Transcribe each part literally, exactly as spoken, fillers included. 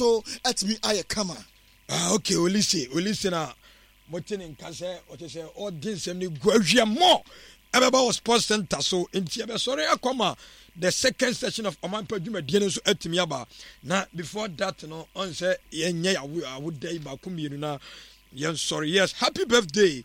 So atumi ayɛ kama. Ah, okay, Olise, Olise na mote ne nka sɛ ɔkyɛ sɛ ɔde nsɛm no gu awia mmɔ ɛbɛba wɔ sports center so, nti ɛbɛsɔre akɔma the second session of Ɔmanpa dwumadie no nso atumi aba. Na before that no, ɔn sɛ yɛnyɛ awoda yi baako mmienu na yɛnsɔre. Yes, happy birthday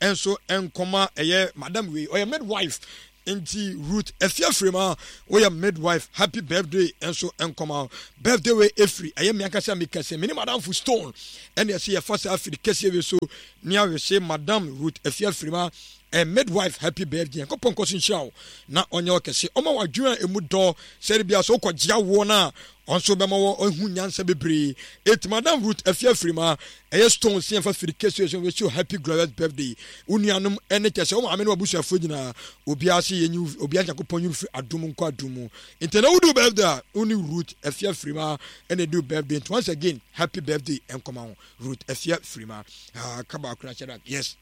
ɛnso nkɔma ɛyɛ madam wei, ɔyɛ midwife, nti Ruth Afiafirima, woyɛ midwife, happy birthday nso nkɔma. Birthday wei efiri ɛyɛ mmea kasa mi kɛse mene madam Stone ɛna ɛsɛ yɛfa saa afiri kɛseɛ wei so ne ahwɛhyɛ Madam Ruth Afiafirima, ɛ midwife, happy birthday. Nkɔpɔ nkɔ so nhyira wo na ɔnyɛ ɔkɛse, ɔma wadwene a emu dɔ sɛde bia so wokɔgye awoɔ no a, ɔnso bɛma wɔ ɔhu nyansa bebree. Eti Madam Ruth Afiafirima, ɛyɛ Stone si yɛmfa firi kɛseɛ so wɔsi happy glorious birthday. Wo nuanom ɛne kyɛ sɛ wo maame ne wabusuafoɔ nyinaa, obiara se yɛnyi obiara, Nyankopɔn yi firi adom nkɔ adom mu. Nti na wodu birthday a, wo ne Ruth Afiafirima ɛna ɛdu birthday. Nti once again, happy birthday nkɔma wo, Ruth Afiafirima. Ah, kaba akora kyerɛ. Yes,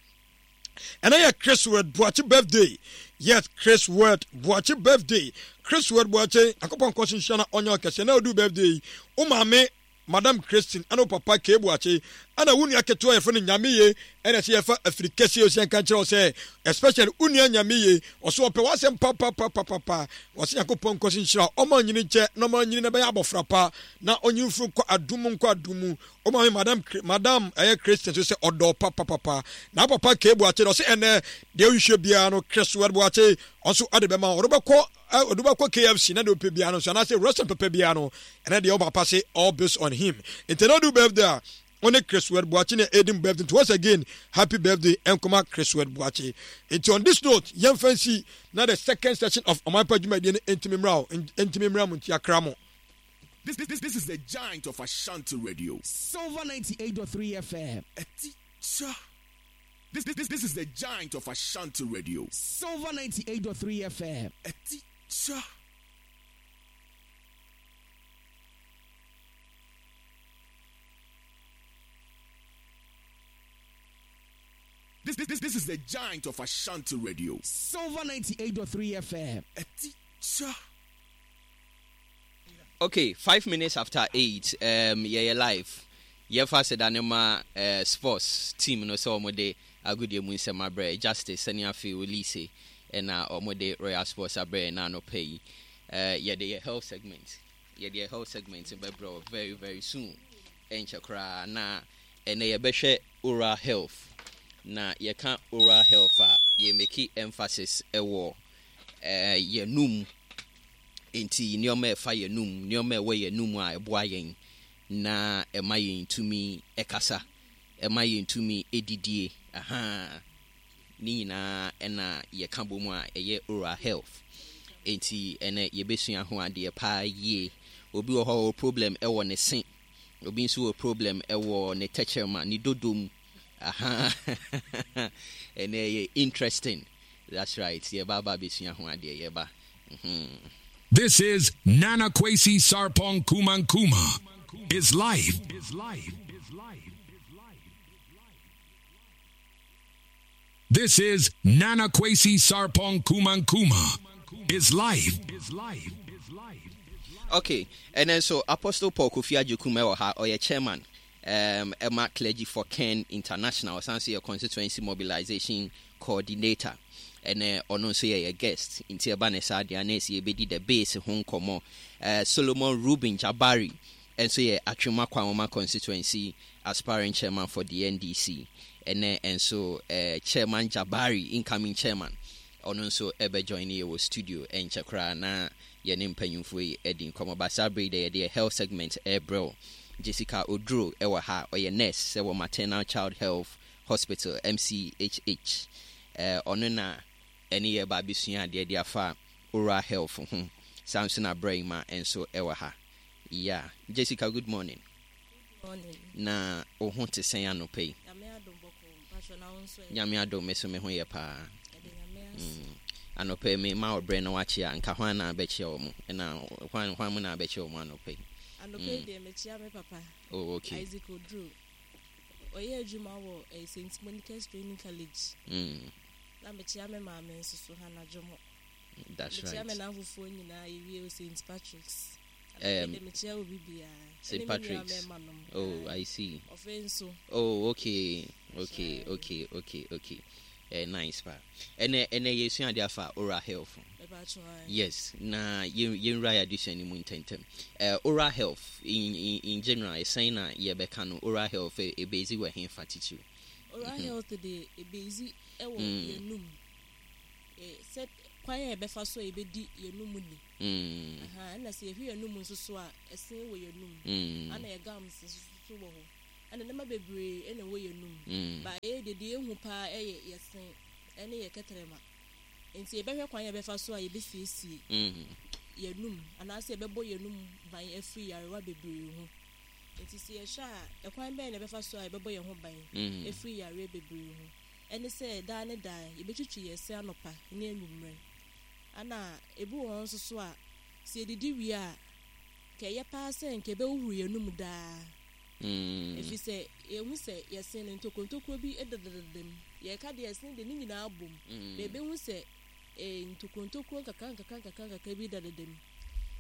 ɛnɛ yɛ Chris Word Boakye birthday. Yes, Chris Word Boakye birthday. Chris Word Boakye, Akɔpɔ nkɔ so nhyia na ɔnyɛ ɔkɛseɛ. Na odu birthday yi, wo maame Madam Christine ɛne wo papa K Boakye ɛna wo nua ketewa yɛfrɛ no Nyameye ɛna ɛsɛ yɛfa afiri kɛseɛ osi nka nkyerɛ wo sɛ, especially wo nua Nyameye, ɔso ɔpɛ w'asɛm papapapapa. Wɔsɛ Nyankopɔn nkɔ so nhyira, ɔma ɔnyini nkyɛ na ɔma ɔnyini na ɛbɛyɛ abɔfra pa na ɔnyini firi nkɔ adum nkɔ adum mu. Wo maame Madam Madam ɛyɛ Christian so sɛ ɔdɔ papapapa, na papa K Boakye ɔsɛ ɛnɛ deɛ wohwehwɛ biara no, Chris Word Boakye ɔnso ɔde bɛma ɔde bɛkɔ ɔde bɛkɔ K F C na deɛ ɔpɛ biara no nso anaasɛ restaurant pɛpɛ biara no, ɛnɛ deɛ ɔba se all based on him. Nti ɛnɛ ɔde birthday a, ɔne Chris Word Boakye na ɛdi birthday. Nti once again, happy birthday ɛnkɔma Chris Word Boakye. Nti on this note, yɛmfa nsi na the second session of Ɔmanpa dwumadie no ntumi mmra o, ntumi mmra mu. Nti akra mo. This, this, this is the giant of Ashanti Radio. Silver ninety-eight point three F M. Teacher. This, this, this is the giant of Ashanti Radio. Silver ninety-eight point three F M. Teacher. This, this, this is the giant of Ashanti Radio. Silver ninety-eight point three F M. Teacher. Okay, five minutes after eight, um, yɛyɛ live. Yɛfa sɛ ne ma uh, sports team no sɛ ɔmode agodie mu nsɛm abrɛ Justice sɛne afei Olise ɛna ɔmode Royal Sports abrɛ na anɔpɛ yi. uh, yɛde yɛ health segment yɛde yɛ health segment bɛbrɛ very very soon, ɛnkyɛ koraa. Na ɛnɛ yɛbɛhwɛ oral health. Na yɛka oral health a, yɛmake emphasis ɛwɔ uh, yɛnum. Nti nneɛma a ɛfa yɛnum, nneɛma a ɛwɔ yɛnum a ɛboa yɛn na ɛma yɛn tumi ɛkasa, ɛma yɛn tumi ɛdidie, aha ne nyinaa ɛna yɛka bɔ mu a ɛyɛ oral health. Nti ɛnɛ yɛbɛsua ho adeɛ paa yie. Obi wɔ hɔ a ɔwɔ problem ɛwɔ ne se, obi nso wɔ problem ɛwɔ ne tɛkyerɛma, ne dodom. Aha, ɛnɛ yɛ interesting. That's right, yɛba aba abɛsua ho adeɛ, yɛba mm-hmm. This is Nana Kwesi Sarpong Kumankuma. Is life. Is life. This is Nana Kwesi Sarpong Kumankuma. Is life. Is life. Okay, and then so Apostle Paul Kofi Agyekum ɛwɔ ha, ɔyɛ chairman um, ɛma Clergy for Ken International, ɔsan so yɛ constituency mobilization coordinator. Ɛnɛ ɔno nso yɛ yɛ guest. Nti ɛba ne saa deɛ, na ɛsɛ yɛbɛdi the base ho nkɔmmɔ. uh, solomon Ruben Jabari ɛnso yɛ Atwima Kwanwoma constituency aspiring chairman for the N D C. Ɛnɛ nso uh, Chairman Jabari, incoming chairman, ɔno nso ɛbɛjoin yɛ wɔ studio ɛnkyɛ koraa na yɛne mpanyimfoɔ yi adi nkɔmmɔ. Ba saa bere deɛ, yɛde yɛ health segment ɛrebrɛw. Jessica Oduro ɛwɔ ha, ɔyɛ nurse sɛ wɔ Maternal Child Health Hospital, M C H H. Ɔno na ɛne yɛ ba abɛsua adeɛ de afa oral health ho. Saa nso na Brɛima nso ɛwɔ ha. Yeah, Jessica, good morning. Morning. Na wo ho te sɛn anɔpa yi? Nyame adom, bɔkɔ. Mpatwɔ, na wo nso ɛ? Nyame adom, me so me ho yɛ paa. Ɛde Nyame ase. Mm. Anɔpa yi me ma ɔbrɛ na wakyea nka hwan na abɛkyea wɔ mo, ɛna hwan hwan mu na abɛkyea wɔ mo anɔpa yi? Anɔpa yi deɛ, mekyia me papa. Oh, okay. Isaac Oduro. Ɔyɛ adwuma wɔ eh, Saint Monica's Training College. Mm. Na mekyia me maame nso so, Hannah Dwomo. That's Mekyia right. me namfofoɔ nyinaa yɛwie wɔ Saint Patrick's. Um, Saint Patrick's. Oh, I see. Oh, okay, okay, okay, okay, okay. Eh, nice pa. Ɛnɛ ɛnɛ yɛsua ade afa oral health. Yes, na yɛn yɛnwura yɛ adesua no mu ntɛntɛm. Eh, oral health in in in general, ɛsɛn na yɛbɛka no oral health ebezi wɔ hefa titiriw? Oral health de, ebezi ɛwɔ yɛnum. Sɛ kwan a yɛbɛfa so a yɛbɛdi yɛnum ni. Ɛna sɛ yɛhwɛ yɛnum nso so a, ɛsen wɔ yɛnum. Ana yɛ gums nso so wɔ hɔ. Ɛna nneɛma bebree ɛna ɛwɔ yɛnum. Ba ɛyɛ deɛ deɛ ehu paa ɛyɛ yɛsen ɛne yɛ kɛtɛrɛma. Nti yɛbɛhwɛ kwan a yɛbɛfa so a yɛbɛsiesie yɛnum anaasɛ yɛbɛbɔ yɛnum ban afiri yarewa bebree ho. Nti sɛ yɛhwɛ a, ɛkwan bɛn na yɛbɛfa so a yɛbɛbɔ yɛn ho ban afiri yareɛ bebree ho? Ɛne sɛ daa ne daa yɛbɛtwitwi yɛn se anɔpa ne anwummerɛ. Ana ebi wɔ hɔ nso so a, sɛ yɛdidi wie a, ka ɛyɛ paa sɛ nka yɛbɛhohoro yɛnum daa. Ɛfiri sɛ yɛhu sɛ yɛsen no ntokuro bi dedadeda mu. Yɛka deɛ yɛsen de ne nyinaa bom. Na yɛbɛhu sɛ eh, ntokuro ntokuro nkakra nkakra nkakra nkakra bi dedadeda mu.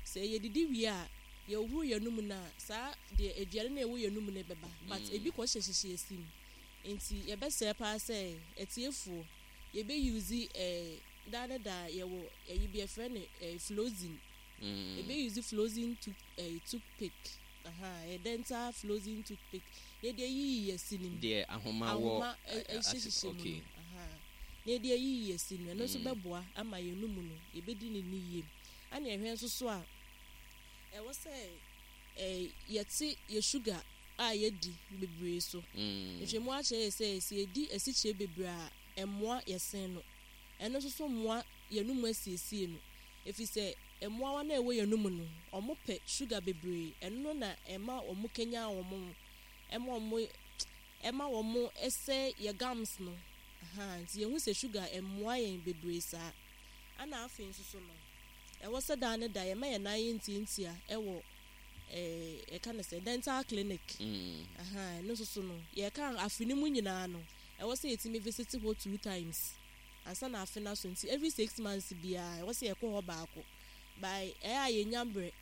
Sɛ yɛdidi wie a, yɛhohoro yɛnum no a, saa deɛ aduane no a ɛwɔ yɛnum no bɛba. But ebi kɔ hyehyɛhyehyɛ yɛn se mu. Nti yɛbɛsrɛ paa sɛ atiefoɔ, yɛbɛuse eh, daa ne daa yɛwɔ ɛyi bi yɛfrɛ no eh, flossing. Yɛbɛuse flossing tooth, eh, toothpick. Aha, ɛyɛ dental flossing toothpick. Na yɛde ayiyi yɛn se no mu. Deɛ ahoma wɔ ahoma ɛhyehyɛhyehyɛ mu no. Aha. Na yɛde ayiyi yɛn se no, ɛno nso bɛboa ama yɛn num no, yɛbɛdi ne ni yie. Ɛna yɛhwɛ nso so a, ɛwɔ sɛ eh, yɛte yɛ sugar a yɛdi bebree so. Nhwɛmu akyerɛ yɛ sɛ sɛ yɛdi asikyire bebree a, ɛmmoa yɛsen no. Ɛno nso so mmoa yɛn mu asiesie no. Ɛfiri sɛ mmoawa no a ɛwɔ yɛn mu no, ɔmo pɛ sugar bebree. Ɛno no na ɛma ɔmo kenya wɔn ho, ɛma ɔmo ɛma wɔn ɛsɛ yɛ gums no. Aha, nti yɛhu sɛ sugar ɛmmoa yɛn bebree saa. Ɛna afei nso so no, ɛwɔ sɛ daa ne da yɛma yɛn nan yɛ ntiantia ɛwɔ ɛɛ yɛka no sɛ dental clinic. Aha, ɛno nso so no, yɛka afe no mu nyinaa no, ɛwɔ sɛ yɛtumi visit hɔ two times ansa na afe no aso. Nti every six months biara ɛwɔ sɛ yɛkɔ hɔ baako. By ɛyɛ a yɛnya berɛ,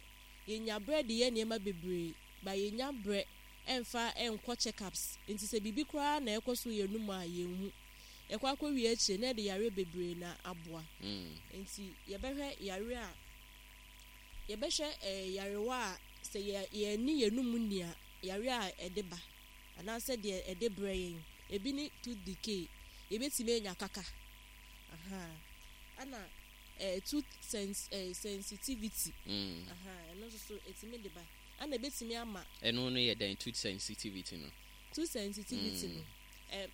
yɛnya berɛ de yɛ nneɛma bebree, ba yɛnya berɛ ɛmfa ɛnkɔ check-ups. Nti sɛ biribi koraa na ɛkɔ so yɛn mu a, yɛnhu. Yɛkɔ akɔwie akyire na yɛde yareɛ bebree na aboa. Nti yɛbɛhwɛ yare a yɛbɛhwɛ ɛɛ yarewa a sɛ yɛ yɛni yɛn num ni a, yare a ɛde ba anaasɛ deɛ ɛde brɛ yɛn. Ebi ne tooth decay, yɛbɛtumi anya kaka. Aha, ɛna ɛɛ tooth sens ɛɛ sensitivity. Aha, ɛno nso so ɛtumi de ba. Ɛna ɛbɛtumi ama Ɛno no yɛ dɛn, tooth sensitivity no? Tooth sensitivity no, ɛ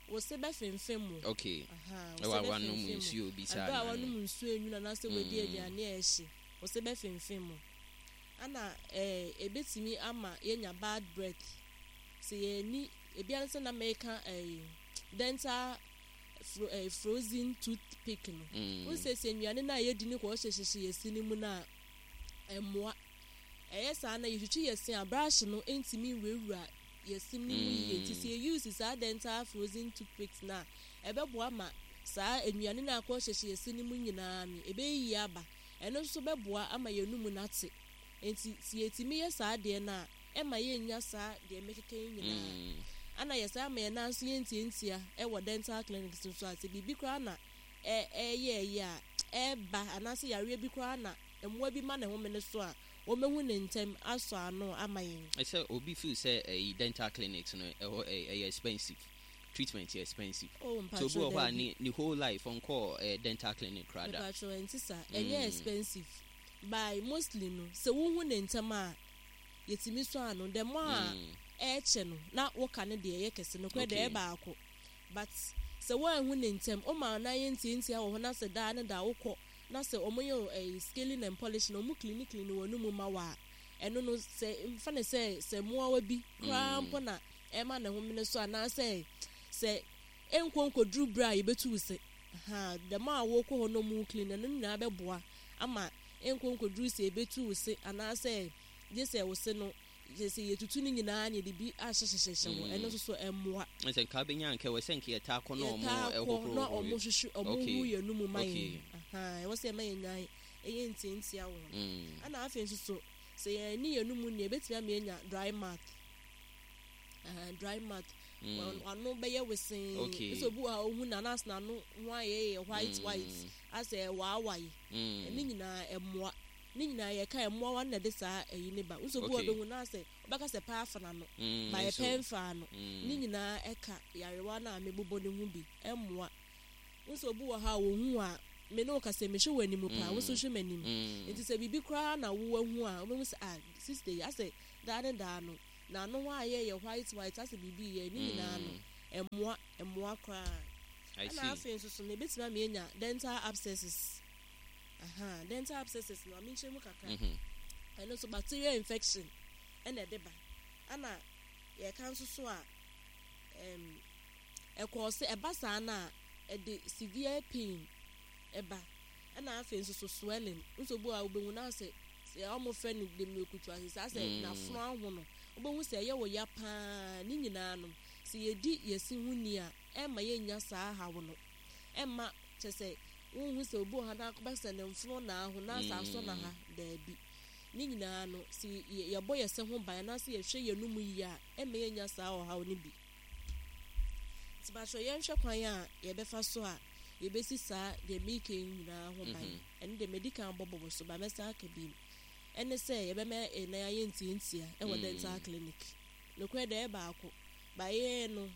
wo se bɛfemfem mu. Okay. Aha, Ɛwɔ wo se a wanom bɛfemfem mu. nsuo bi saa Ɛberɛ a na- wanom nsuo enwunu anaasɛ wadi aduane a ɛhye, wo se bɛfemfem mu. Ɛna ɛɛ ebetumi ama yɛnya bad breath. Sɛ yɛni ebi ara sɛ na mɛka ɛɛ dental fro ɛɛ frozen toothpick no. Mm. N sɛ sɛ nnuane no a yɛdi no kɔ hyehyɛhyehyɛ yɛ se no mu no a, ɛmmoa. Ɛyɛ saa na yɛtwitwi yɛ se a, brush no ntumi nwurawura yɛ se no mu yie. Nti sɛ yɛ use saa dental frozen toothpicks no a, ɛbɛboa ma saa nnuane no a akɔ hyehyɛ yɛ se no mu nyinaa no, ɛbɛyiyi aba. Ɛno nso bɛboa ama yɛn num no ate. Nti sɛ yɛtumi yɛ saa adeɛ no a, ɛma yɛnnya saa deɛ mekeka yi nyinaa. Mm. Ana yɛ saa ma yɛn nan nso yɛntiantia ɛwɔ dental clinics nso a, sɛ biribi koraa na ɛ ɛyɛ ɛyɛ a ɛɛba anaasɛ yareɛ bi koraa na mmoa bi ma ne home no so a, wɔmɛhu ne ntɛm asɔ ano ama yɛn. Ɛsɛ obi feel sɛ ɛyi dental clinics no ɛhɔ ɛyɛ ɛyɛ expensive, treatment yɛ expensive. Oh, So obi wɔ hɔ a mpatro, daabi. ne ne whole life ɔnkɔɔ ɛɛ dental clinic koraa da. Mepatro, ɛnti saa. Ɛnyɛ expensive, by mostly no, sɛ wohu ne ntɛm a, yɛtumi sɔ ano. The more a Mm. ɛɛkyɛ no na woka ne deɛ ɛyɛ kɛse no korɛ deɛ Okay. ɛyɛ baako, but sɛ woanhu ne ntɛm, woma na yɛ ntiantia wɔ hɔ na sɛ daa ne daa wokɔ na sɛ ɔmo yɛ wo, ɛɛ scaling and polishing, ɔmo clean clean wɔ no mu ma wo a, ɛno no sɛ mfa ne sɛ sɛ mmoawa bi koraa mpo na ɛma ne homene so anaasɛ sɛ ɛnkɔ nkɔduru berɛ a yɛbɛtu wo se ha, dɛm a wɔkɔ hɔ no mu clean, ɛno nyinaa bɛboa ama ɛnkɔ nkɔduru sɛ yɛbɛtu wo se anaasɛ gye sɛ wo se no gye sɛ yɛtutu no nyinaa na yɛde bi ahyehyɛhyehyɛ hɔ. Ɛno nso so ɛmmoa. Ɛsɛ nka bɛnya nka wɔ sɛ nka yɛtaa kɔ na ɔmo yɛtaa kɔ ɛhohoro na ɔmo hwehwɛ ɔmo Okay. hu yɛn mu ma Okay. yɛn. Aha, ɛwɔ sɛ ɛma yɛn nan ɛyɛ ntiantia wɔ ho. Mm. Ɛna afei nso so sɛ yɛn ani yɛn mu nea ebetumi ama yɛnya dry mouth. Uh, dry mouth. Mm. Wɔn ano bɛyɛ wesee. Okay. Nso obi wɔ ha ohun na anaasɛ n'ano ho ayɛ yɛ white Mm. white asɛ ɛwaawae. Mm. Ne nyinaa ɛmoa. Ne nyinaa yɛka ɛmoa na ɛde saa ɛyi ne ba. Nso obi wɔ Okay. bɛhu na asɛ ɔbɛka sɛ paa afa n'ano. Mm, Ba yɛ nso. pɛ mfa no. Mm. Ne nyinaa ɛka yarewa no a mebobɔ ne ho bi ɛmmoa. Nso obi wɔ ha a wohu a me ne wo kasa mehwɛ wɔ anim paa wo nso hwɛ m'anim. Mm. Nti sɛ biribi koraa na wo ahu a wobɛhu sɛ ah sister yi asɛ daa ne daa no n'ano hɔ ayɛ yɛ white white asɛ biribi yɛ ne nyinaa no ɛmmoa ɛmmoa koraa. I Ɛna see. afei nso so no ebetumi ama yɛnya dental abscesses. Aha, dental abscesses no amenkyerɛ mu kakra. Mhm. Ɛno nso bacterial infection ɛna ɛde ba. Ɛna yɛka nso so a ɛm ɛkɔɔ sɛ ɛba saa no a ɛde severe pain ɛba. Ɛna afei nso so swelling. Nso obi a wobɛhu na sɛ sɛ ɔmo frɛ no demirikutu ase saa sɛ Mm. n'afono aho no wobɛhu sɛ ɛyɛ wɔ ya paa ne nyinaa no sɛ yɛdi yɛsi ho ni a ɛmma yɛnnya saa haw no ɛmma kyɛ sɛ wohu sɛ obi wɔ ha na akɔbɛ sɛ ne mfono na aho na asɛ asɔ na ha daabi ne nyinaa no sɛ yɛ- yɛbɔ yɛsɛ ho ban anaasɛ yɛhwɛ yɛn mu yie a ɛmma yɛnnya saa ɔhaw no bi. Nti bakyɛ yɛnhwɛ kwan a yɛbɛfa so a yɛbɛsi saa deɛ meka yi nyinaa ho ban. Mhm. Ɛno deɛ medi kan bɔbɔbɔ so ba mɛsa aka bi mu. Ɛne sɛ yɛbɛma ɛnan ayɛ ntiantia ɛwɔ Mm. dental clinic. Nokorɛ deɛ ɛyɛ baako. Ba yɛn no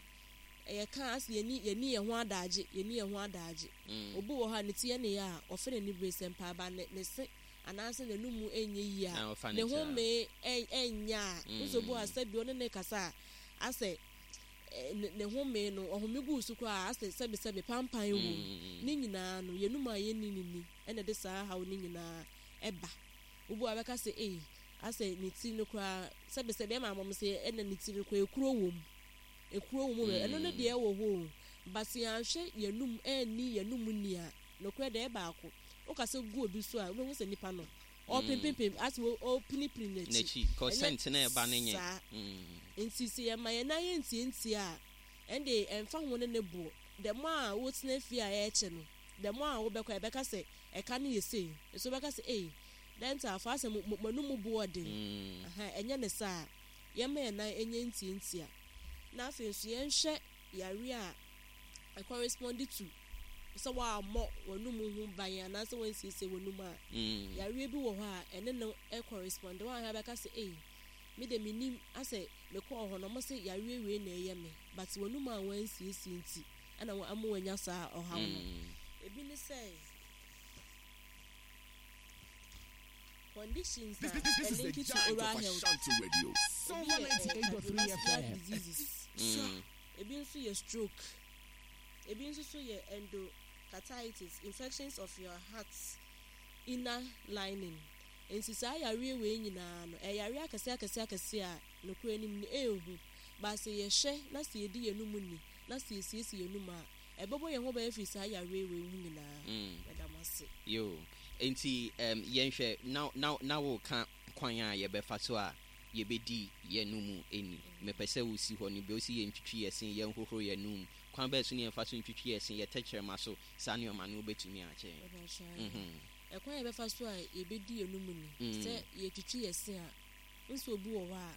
ɛyɛ ka ase yɛni yɛni yɛn ho adagye yɛni yɛn ho adagye. Mm. Obi wɔ hɔ a ne ti yɛ ne yɛ a ɔfɛ n'ani bere sɛ mpaaba ne ne se anaasɛ n'anum ɛnyɛ yie a Na ɔfa ne ne ho ti a. mee ɛ ɛnyɛ a Mm. nso obi wɔ ha sɛbi ɔne ne kasa a asɛ ɛ, ne ne ho mee no ɔhome gu so koraa asɛ sɛbi sɛbi pampan wɔ mu. Mm. Ne nyinaa no yɛnum a yɛnni ne ni ɛna ɛde saa haw ne nyinaa ɛba. Obi wɔ ha bɛka sɛ ei asɛ ne ti no koraa sɛbi sɛbi ɛma amam sɛ ɛna ne ti no koraa ekuro wɔ mu. Ekuro wɔ mu Mm. ɛno ne deɛ ɛwɔ hɔ o. But sɛ yɛanhwɛ yɛnum ɛnni yɛnum ni a nokorɛ deɛ ɛbaako. Wokasa gu obi so a wobɛhu sɛ nipa no ɔpempempem asɛ ɔ- ɔpinipini n'akyi. N'akyi cause Ɛnyɛ scent na ɛba ne nyɛ. saa. Mm. Nti sɛ yɛma yɛn nan yɛ ntiantia a ɛnde ɛmfa ho ne ne boɔ. The more a wotena fie a ɛɛkyɛ no, the more a wobɛkɔ ɛbɛka sɛ ɛka no yɛ sei. Nso wobɛka sɛ ei dental fo asɛ mo mo mo bo ɔden. Mm. Aha, ɛnyɛ ne saa. Yɛma yɛn nan ɛnyɛ ntiantia. Na afei nso yɛnhwɛ yare a ɛcorrespond to sɛ woammɔ w'anum ho ban anaasɛ woansiesie w'anum a Mm. yareɛ bi wɔ hɔ a ɛne no ɛcorrespond. Woahwɛ bɛka sɛ ei me de menim asɛ mekɔɔ hɔ no ɔmo sɛ yareɛ wei na ɛyɛ me but w'anum a woansiesie nti ɛna wo- ama woanya saa ɔhaw no. Mm. Ebi ne sɛ conditions a This, this, this is the ɛlink to giant oral of health. Ashanti Radio. Ebi Silver yɛ eh, ninety-eight point three cardiovascular F M. diseases. Mm. Ebi nso yɛ stroke. Ebi nso so yɛ endocarditis, infections of your heart inner lining. Nti saa yareɛ wei nyinaa no, ɛyɛ yareɛ akɛseɛ akɛseɛ akɛseɛ a nokorɛ anim no ɛnhu. But sɛ yɛhwɛ na sɛ yɛdi yɛn num ni na sɛ yɛsiesie yɛn num a, ɛbɛbɔ yɛn ho ban afiri saa yareɛ wei ho nyinaa. Mm. Mɛda mo ase. Yo. Nti um, yɛnhwɛ na na na woka kwan a yɛbɛfa so a yɛbɛdi yɛn mu ani. Mepɛ sɛ wosi hɔ no bi osi yɛntwitwi yɛ se yɛnhohoro yɛn num. Kwan bɛɛ so ne yɛmfa so ntwitwi yɛ se yɛ tɛkyerɛma so saa nneɛma no wobɛtumi akyɛ. Ɛbɛhyɛ. Mhm. Ɛkwan a yɛbɛfa so a yɛbɛdi yɛn num ni Mm. sɛ yɛtwitwi yɛ se a nso obi wɔ hɔ a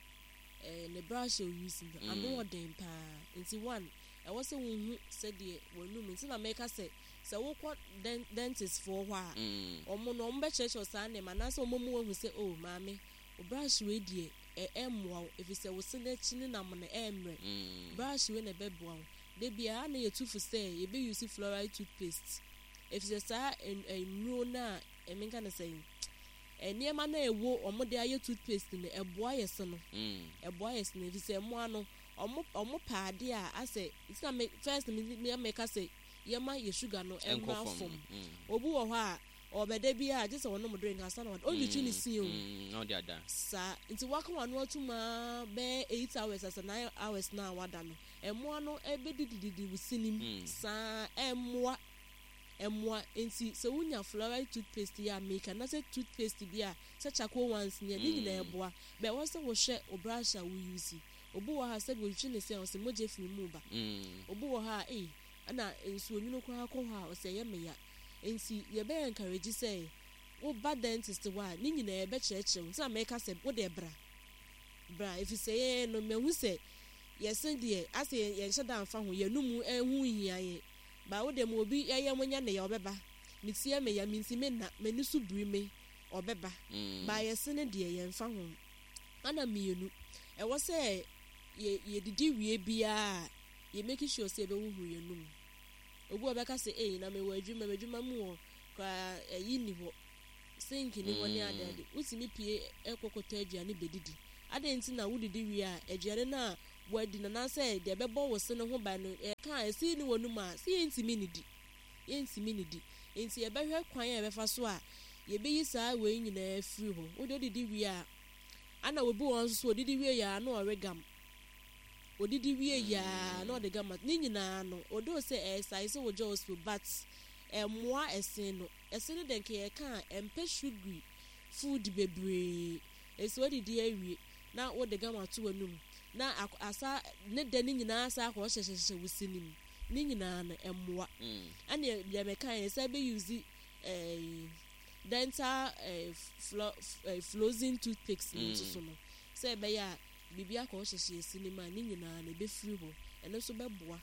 ɛɛ ne brush a ouse no ano Mm. ɔden paa nti one ɛwɔ sɛ wohu sɛdeɛ w'anum nti na mɛka sɛ sɛ wokɔ den dentist foɔ hɔ a Mm. ɔmo no ɔmo bɛkyerɛkyerɛ saa nneɛma anaasɛ ɔmo mu wahu sɛ o maame o brush wei deɛ ɛ ɛmmoa wo efisɛ wo se n'akyi ne nam no ɛmmerɛ Mm. brush wei na ɛbɛboa wo de biara na yɛtu fo sɛ yɛbɛ use fluoride toothpaste efisɛ saa ɛn- nnuro no a ɛmenka ne sɛ ɛ nneɛma no a ɛwɔ ɔmo de ayɛ toothpaste no ɛboa yɛ se no Mm. ɛboa yɛ se no efisɛ mmoa no ɔmo ɔmo pɛ adeɛ a asɛ nti na me first me me meka sɛ yɛma yɛ sugar no Ɛnkɔ ɛmmra fam. fam Mm. obi wɔ hɔ a ɔbɛda bi a gye sɛ ɔnom drink ansa na ɔda ɔntwitwi ne sin o Mm. Na ɔde ada. saa nti waka wano atum aa bɛyɛ eight hours asa nine hours na wada no ɛmmoa no ɛbɛdidididi wo sinim Mm. saa ɛmmoa ɛmmoa nti sɛ wonya fluoride toothpaste yi a meka na sɛ toothpaste bi a sɛ charcoal ones ni a ne nyinaa Mm. ɛboa bɛ ɛwɔ sɛ wohwɛ wo brush a wo use obi wɔ ha sɛbi otwitwi ne se a ɔsɛ mogya firi mu ba Mm. obi wɔ ha a ei ɛna nsuo nwunu koraa kɔ hɔ a ɔsɛ ɛyɛ meya nti yɛbɛyɛ encourage sɛ Woba dentist hɔ a, ne nyinaa yɛbɛkyerɛkyerɛ wo. Nti na mɛka sɛ wode bra bra, ɛfiri sɛ yɛn no, mahu sɛ yɛse deɛ asɛ yɛnhyɛ da mfa ho, yɛnum ɛho hia yɛn ba. Wode ma obi ɛyɛ mo nya ne yɛ, ɔbɛba. Metie me ya, mentimi nna, m'ani so biri me, ɔbɛba. Mm. Ba yɛse ne deɛ yɛmfa ho. Ana mmienu, ɛwɔ sɛ yɛ yɛdidi wie biara, yɛ make sure sɛ yɛbɛhohoro yɛnum. Obi a ɔbɛka sɛ, "Ei, na mewɔ adwuma, m'adwuma mu wɔ koraa, ɛyi ni hɔ, sink ni hɔ," ne Mm. ade ade. Wotumi pie ɛkɔkɔtɔ aduane bɛdidi. Adɛn nti na wodidi wie a, aduane no a wadi no anaasɛ deɛ ɛbɛbɔ wo se no ho ban no, ɛka a ɛsi ne wɔ num a sɛ yɛntumi nidi, yɛntumi nidi? Nti yɛbɛhwɛ kwan a yɛbɛfa so a yɛbɛyi saa wei nyinaa firi hɔ. Wode odidi wie a, ana obi wɔ hɔ nso so, odidi wie yɛ a na ɔwe gum. Odidi wie yaa na ɔde gum ne nyinaa no, odo sɛ ɛyɛ sɛ wɔ jaws, but ɛmmoa ɛsen no. Ɛsen no deɛ, nka yɛka a, ɛmpɛ sugary food bebree. Esi odidi awie na wode gum ato w'anum na asa ne dɛ ne nyinaa sa akɔ hyehyɛhyehyɛ wo si nim ne nyinaa no, ɛmmoa. Mm. Ɛne deɛ mɛka yɛ sɛ bɛ use ɛɛ dental ɛɛ flo ɛɛ flossing toothpicks ne nso so no, sɛ ɛbɛyɛ a biribi akɔ hyehyɛ esi ne mu a, ne nyinaa no ɛbɛfiri hɔ. Ɛno nso bɛboa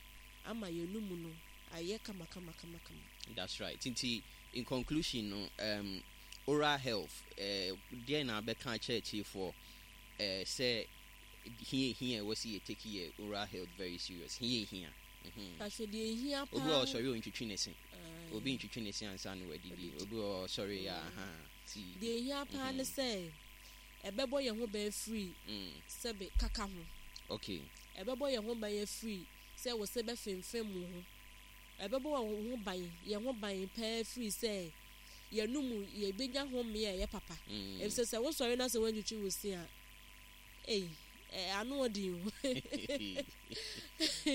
ama yɛn mu no ayɛ kama kama kama kama. That's right. Nti in conclusion no, um, oral health, eh, deɛ na bɛka akyerɛ atiefoɔ eh, sɛ hia hia ɛwɔ sɛ yɛ take yɛ oral health very serious, hia hia. Mhm. Ahwɛ deɛ ehia paa. Obi wɔ ɔsɔre ontwitwi ne se. Aye. Obi ntwitwi ne se ansa na wadidi. Obi wɔ ɔsɔre yɛ aha ti. Deɛ ehia paa ne sɛ ɛbɛbɔ yɛn ho ban firi Mm. sɛbe kaka ho. Okay. Ɛbɛbɔ yɛn ho ban afiri sɛ wɔ sɛ bɛfemfem wo ho. Ɛbɛbɔ wɔn ho ban, yɛn ho ban pɛɛ firi sɛ yɛnum yɛbɛnya home a ɛyɛ papa. Mm. Efisɛ sɛ wosɔre na sɛ woantwitwi wo se a, ei, ɛ ano ɔden o.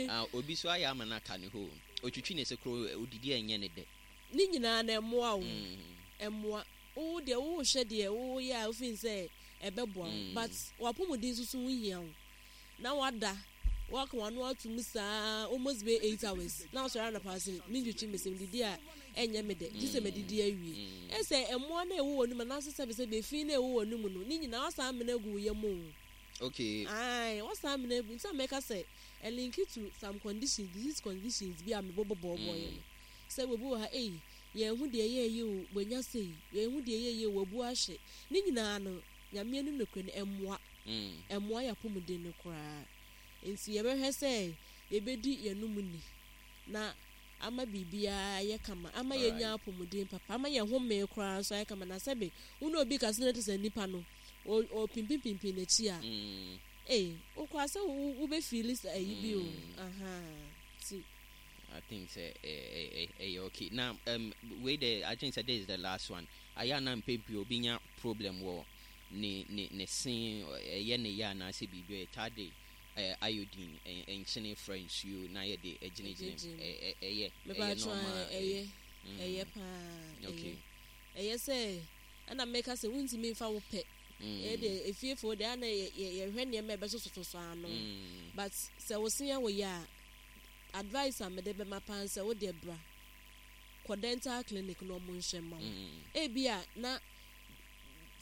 Ah, obi so ayɛ ama no aka ne hɔ. Otwitwi ne se koro, odidi a ɛnyɛ ne dɛ. Ne nyinaa na ɛmmoa wo. Mm. Ɛmmoa wo deɛ, wohwɛ deɛ woyɛ a, wofin sɛ ɛbɛboa wo, Mm. but wapɔmuden nso so ho hia wo. Na wada, waka wano ato mu saa almost bɛ eight hours na wasɔre anapa sɛ mentwitwi me se, didi a ɛnyɛ me dɛ, gye sɛ medidi awie. Mm. Ɛsɛ ɛmmoa no a ɛwɔ w'anum anaasɛ sɛbesɛbe efi no a ɛwɔ w'anum no ne nyinaa wasan amena agu wo yam o. Okay. Ae, wasan amena agu. Nti a mɛka sɛ ɛ link to some conditions, disease conditions bi a mebɔbɔbɔbɔ yɛ no, sɛ obi wɔ ha, ei, yɛn ho deɛ ɛyɛ yie o, wanya sei, yɛn ho deɛ ɛyɛ yie o, wabu ahye. Ne nyinaa no, Nyame anim nokorɛ no, ɛmmoa. Mm. Ɛmmoa yɛ apɔmuden no koraa. Nti yɛbɛhwɛ sɛ yɛbɛdi yɛnum ni na ama biribiara yɛ kama, ama yɛnya apɔmuden papa, ama yɛn home koraa nso ayɛ kama. Na sɛbe wo ne obi kasa na te sɛ nipa no ɔpimpimpimpi n'akyi a, Mm. ee, wokora sɛ wobɛ feel sɛ ayi bi o. Mm. Aha, ti. I think sɛ ɛyɛ ɛyɛ okay. Na um, wei de, I think sɛ this is the last one. Ayɛ ana mpɛ pii obi nya problem wɔ ne ne ne se, ɛyɛ ne yɛ anaasɛ biribi, ɛtaa de ɛɛ iodine, ɛ nkyene fra nsuo na yɛde ɛgyinagyina mu. Ɛgyinagyina mu. ɛ ɛ ɛyɛ ɛyɛ Mepatwa. Normal? Ɛyɛ. Mm. Ɛyɛ paa. Okay. Ɛyɛ, ɛyɛ sɛ ɛna mɛka sɛ wontumi mfa wo pɛ. Mm. Ɛyɛ deɛ efiefoɔ deɛ, ana yɛ yɛ yɛhwɛ nneɛma a ɛbɛsososo ano. Mm. But sɛ wo se yɛ wo yɛ a, advice a mede bɛma paa sɛ wo deɛ, bra kɔ dental clinic na ɔmo nhyɛ ma wo. Mm. Ebi a na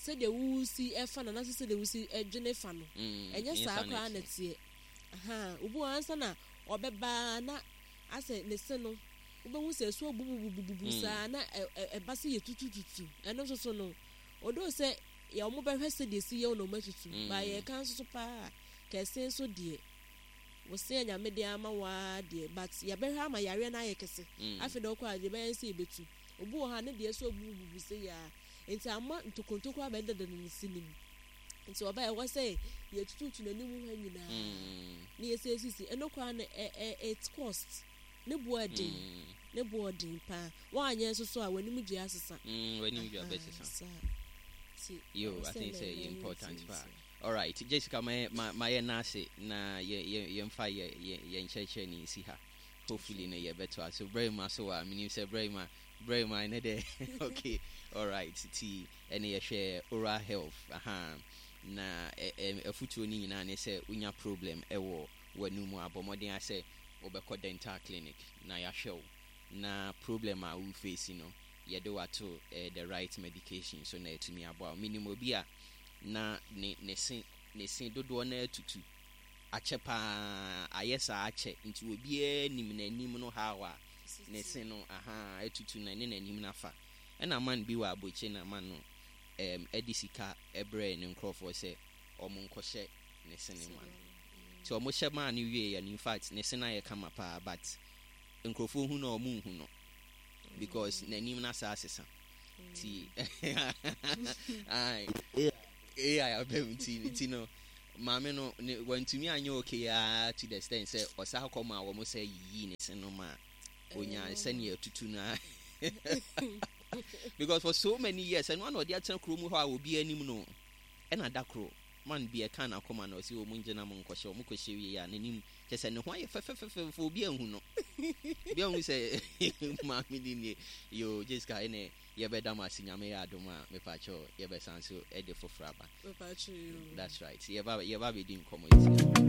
sɛdeɛ wusi ɛfa no anaasɛ sɛdeɛ wusi ɛdwene fa no, Mm. ɛnyɛ saa koraa na ɛteɛ. teɛ. Aha, obi wɔ ansa na ɔbɛbaa na asɛ ne se no, wobɛhu sɛ ɛso abububububu Mm. saa na ɛ- ɛ- ɛba sɛ yɛ tutututu. Ɛno nso so no, odo sɛ yɛ ɔmo bɛhwɛ sɛdeɛ si yɛ wo na ɔmo atutu. Mm. Ba yɛka nso so paa kɛse nso deɛ, wɔsɛ Nyame de ama waa deɛ, but yɛbɛhwɛ ama yareɛ no ayɛ kɛse. Mm. Afei deɛ, ɔkɔ a deɛ bɛyɛ sɛ yɛbɛtu. Obi wɔ ha ne deɛ so abubububu sɛ yɛ a, nti ama ntokontoko abɛdeda ne si nim. Nti ɔbaa ɛwɔ sɛ yɛtututu n'anim hɔ nyinaa Mm. na yɛsɛ esisi. Ɛno koraa no, ɛ ɛ it cost, ne boɔ ɛden. Mm. Ne boɔ ɔden paa. Wɔanyɛ nso so a, w'anim dua asesa. Mm. W'anim dua Aha, bɛsesa. saa. Nti, Yo, ɛwɔ I sɛ think mɛ- sɛ mɛ- ɛyɛ important nti- paa. Alright, Jessica, ma ma ma yɛ n'ase na yɛ yɛ yɛmfa yɛ yɛ yɛn nkyerɛkyerɛ ne nsi ha. Hopefully no yɛbɛto so brɛ mu so a menim sɛ brɛ mu a brɛ mu a ɛnɛ dɛ. Okay, alright, ti ɛne yɛhwɛ oral health aha na ɛ ɛ afutuo no nyinaa ne sɛ wonya problem ɛwɔ w'anum a, bɔ mmɔden asɛ wobɛkɔ dental clinic na yɛahwɛ wo na problem a wo face no. Yɛde wato eh, the right medication so na ɛtumi aboa wo. Menim obi a na ne ne se ne se dodoɔ no atutu akyɛ paa, ayɛ saa akyɛ, nti obiara nim n'anim no how a ne se no aha atutu na ne n'anim no afa. Ɛna man bi wɔ abɔkyire na man no um, ɛde sika ɛbrɛɛ ne nkurɔfoɔ sɛ ɔmo nkɔhyɛ ne se ne ma no. Nti ɔmo hyɛ maa no wie yɛ no, in fact, ne se no ayɛ kama paa, but nkurɔfoɔ hu no a, ɔmo nhu no because n'anim no asa asesa. Nti A I abɛm, nti nti no maame no ne wantumi anyɛ okay aa to the extent sɛ ɔsa kɔ ma wɔn sɛ yiyi ne se no ma onya sɛnea atutu no a, because for so many years ɛno ana ɔde atena kurom hɔ a obi anim no. Ɛna da koro man bi ɛka n'akoma na ɔsi wɔn ngyina mo nkɔhyɛ. Wɔn kɔhyɛ wie a, n'anim kyɛ sɛ ne ho ayɛ fɛfɛfɛfɛ, obi ahu no, obi ahu sɛ maame ni nie. Yo, Jessica, ɛnɛ yɛbɛda mo ase. Nyame yɛ adom a, mepakyɛw, yɛbɛsan so ɛde foforɔ aba. That's right, yɛba yɛba bɛdi nkɔmmɔ nti.